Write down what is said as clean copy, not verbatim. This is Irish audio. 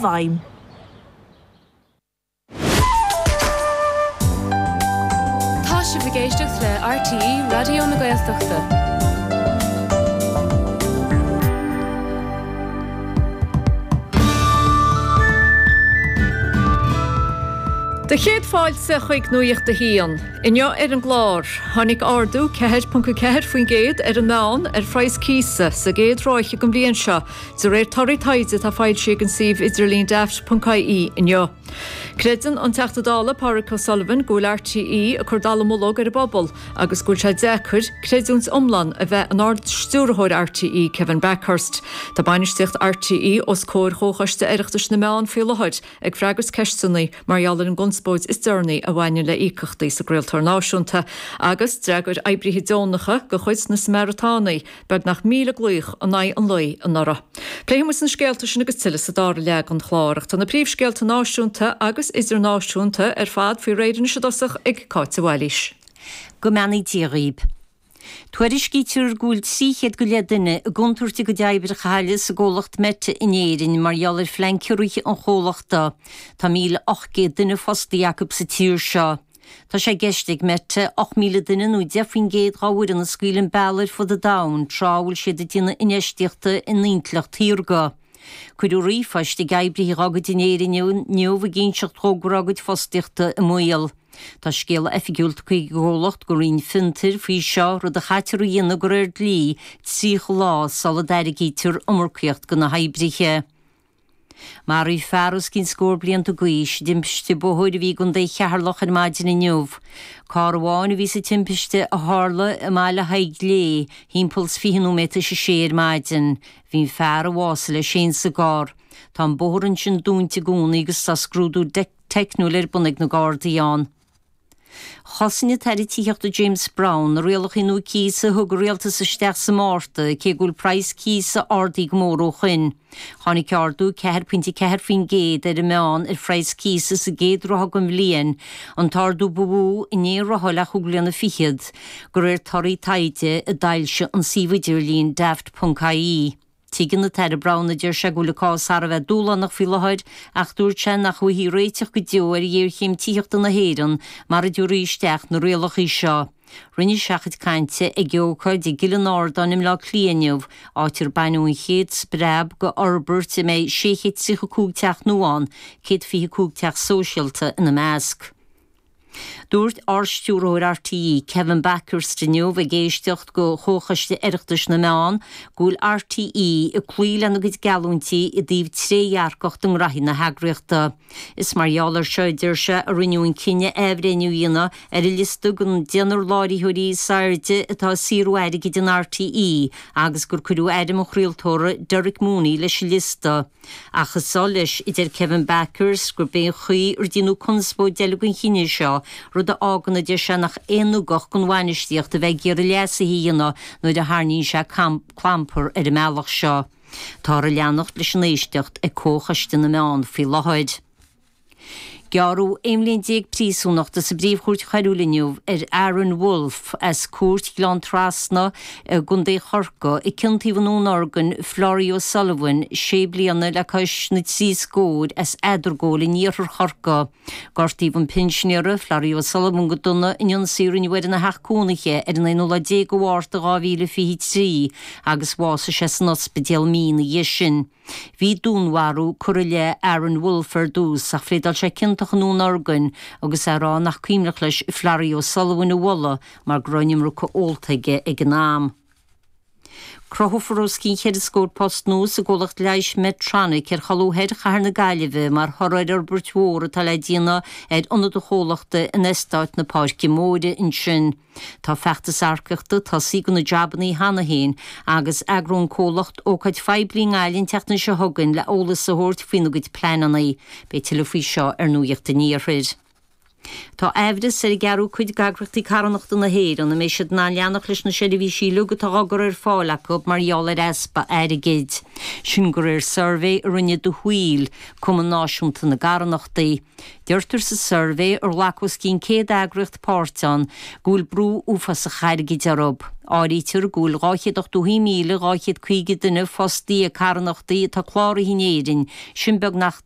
bhfeidhm. Tá sibh ag éisteacht le RTÉ Raidió na Gaeltachta. Do chéad fáilte chuig Nuacht a hAon. Inniu ar an gclár, tháinig ardú 4.4% ar an meán ar phraghas cíosa sa gcéad ráithe den bhliain seo, De réir torthaí taighde atá foilsithe ag an suíomh idirlín Daft.ie inniu. Creideann an Teachta Dála Pádraig O'Sullivan go bhfuil RTÉ ag cur dallamullóg ar an bpobal agus go bhfuil sé deacair creidiúint iomlán a bheith in Ard-Stiúrthóir RTÉ Kevin Bakhurst. Tá bainistíocht RTÉ os comhair Chomhchoiste Oireachtais na Meán faoi láthair ag freagairt ceisteanna mar gheall ar an gconspóid is deireanaí a bhaineann le íocaíochtaí sa gcraoltóir náisiúnta agus d'fhreagair oibrithe deonacha de chuid na Samaritánaigh beagnach 1,000 glaoch in aghaidh an lae anuraidh. Pléifidh muid na scéalta sin agus tuilleadh sa dara leath den chlár ach tá na príomhscéalta náisiúnta agus idirnáisiúnta ar fad faoi réir anois i dtosach ag Cáit de Bhailís. Go mbeannaí Dia dhaoib. Tuairiscítear go bhfuil 300 go leith duine i gcontúirt a gcuid oibre a chailleadh sa gcomhlacht Meta in Éirinn mar gheall ar phlean ciorraithe an chomhlachta. Tá 1,800 duine fostaithe acu sa tír seo. Tá sé i gceist ag Meta 8,000 duine nó 10% dá bhfoireann a scaoileadh an bealach ar fud an domhain tráth a bhfuil siad ag déanamh infheistíochta in intleacht shaorga. Cuireadh ríomhphoist ag oibrithe dá gcuid in Éirinn inniu ag inseacht dhóibh go raibh a gcuid fostaíochta i mbaol. Tá scéala oifigiúil tugtha ag an gcomhlacht don Roinn Fiontair faoi seo, rud a chaitear a dhéanamh de réir dlí 30 lá sula dtairgítear iomarcaíocht do na hoibrithe. Maraíodh fear os cionn scór blianta d'aois i dtimpiste bóthair a bhí i gContae Cheatharlach ar maidin inniu. Carr amháin a bhí sa timpiste a tharla i mBaile Thaidhg Léith thimpeall 's 20 nóiméad tar éis a sé ar maidin. Bhí an fear a bhásaigh leis féin sa gcarr. Tá an bóthar ansin dúnta i gcónaí agus tá scrúdú teicniúil ar bun ag na Gardaí ann. Chosain an tAire Tithíochta James Browne na rialacha nua cíosa a thug an Rialtas isteach sa Márta, cé go bhfuil praghas cíosa ardaithe go mór ó shoin. Tháinig ardú 4.4% ar an meán ar phraghas cíosa sa gcéad ráithe den bhliain, an t-ardú ba mhó in aon ráithe le chúig bliana fichead, de réir torthaí taighde a d'fhoilsigh an suíomh idirlín Daft.ie. Tuigeann an tAire Browne, a deir sé, go bhfuil an cás thar a bheith dúshlánach faoi láthair ach dúirt sé nach bhfaighfí réiteach go deo ar ghéarchéim tithíochta na hÉireann mara dtabharfaí isteach na rialacha seo. Rinne sé a chuid cainte ag ócáid i gCill an Ardáin i mBleá Cliath inniu, áit ar baineadh an chéad spreab go fhorbairt a mbeidh 635 teach nua ann, 125 teach sóisialta ina measc. Dúirt Ard-Stiúrthóir RTÉ, Kevin Bakhurst inniu ag éisteacht go Chomhchoiste Oireachtais na Meán go bhfuil RTÉ ag cloí lena gcuid geallúintí i dtaobh trédhearcacht i ngraithí na heagraíochta. Is mar gheall air seo, a deir sé, a rinneadh an cinneadh athbhreithniú a dhéanamh ar an liosta den deichniúr láithreoirí is airde atá ag saothrú airgid in RTÉ agus gur cuireadh ainm an chraoltóra Derek Mooney leis an liosta. Ach is oth leis, a deir Kevin Bakhurst, gurb é an chaoi ar déanadh conspóid eile den chinneadh seo, rud a fhágann, a deir sé, nach aon ugach don bhainistíocht a bheith ag iarraidh leasuithe a dhéanamh nuair a tharraingíonn sé clampar ar an mbealach seo. Táthar ag leanacht leis an éisteacht ag Comhchoiste na Meán faoi láthair. Gearradh 11 bhliain príosúnachta sa bPríomh-Chúirt Choiriúil inniu ar Aaron Wolfe as Cúirt Ghleann Trasna i gContae Chorcaí a ciontaíodh i ndúnorgain Florrie O'Sullivan, sé bliana le cois na dtrí scór as Eadargóil in iarthar Chorcaí. Gortaíodh an pinsinéara, Florrie O'Sullivan go dona in ionsaí a rinneadh air ina theach cónaithe ar an aonú lá déag de Mhárta 2023 agus bhásaigh sé san ospidéal mí ina dhiaidh sin. Bhí dúnmharú curtha i leith Aaron Wolfe ar dtús ach phléadáil sé ciontach i ndúnorgain agus é ag rá nach cuimhneach leis Florrie O'Sullivan a bhualadh mar go raibh an iomarca ólta aige ag an am. Cruthófar os cionn cheithre scór post nua sa gcomhlacht leighis Medtronic ar cholbha thoir chathair na Gaillimhe mar thoradh ar fhorbairt mhór atá le déanamh ar ionad an chomhlachta in Eastát na Páirce Móire ansin. Tá feachtas earcaíochta tosaithe do na jabannaí cheana féin agus eagróidh an comhlacht ócáid phoiblí i nGaillimh an tseachtain seo chugainn le eolas a thabhairt faoina gcuid pleananna. Beidh tuilleadh faoi seo ar Nuacht an Iarthair. Tá aimhreas ar an gceathrú cuid d'eagraíochtaí carthanachta na hÉireann an mbeidh siad in ann leanacht leis na seirbhísí uilig atá á gcur ar fáil acu mar gheall ar easpa airgid. Sin de réir suirbhé a rinne The Wheel, Cumann Náisiúnta na gCarthanachtaí. Deirtear sa suirbhé, ar ghlac os cionn 100 eagraíocht páirt ann, go bhfuil brú uafásach airgid orthu. Áirítear go bhfuil 281,250 duine fostaithe ag carthanachtaí atá cláraithe in Éirinn, sin beagnach.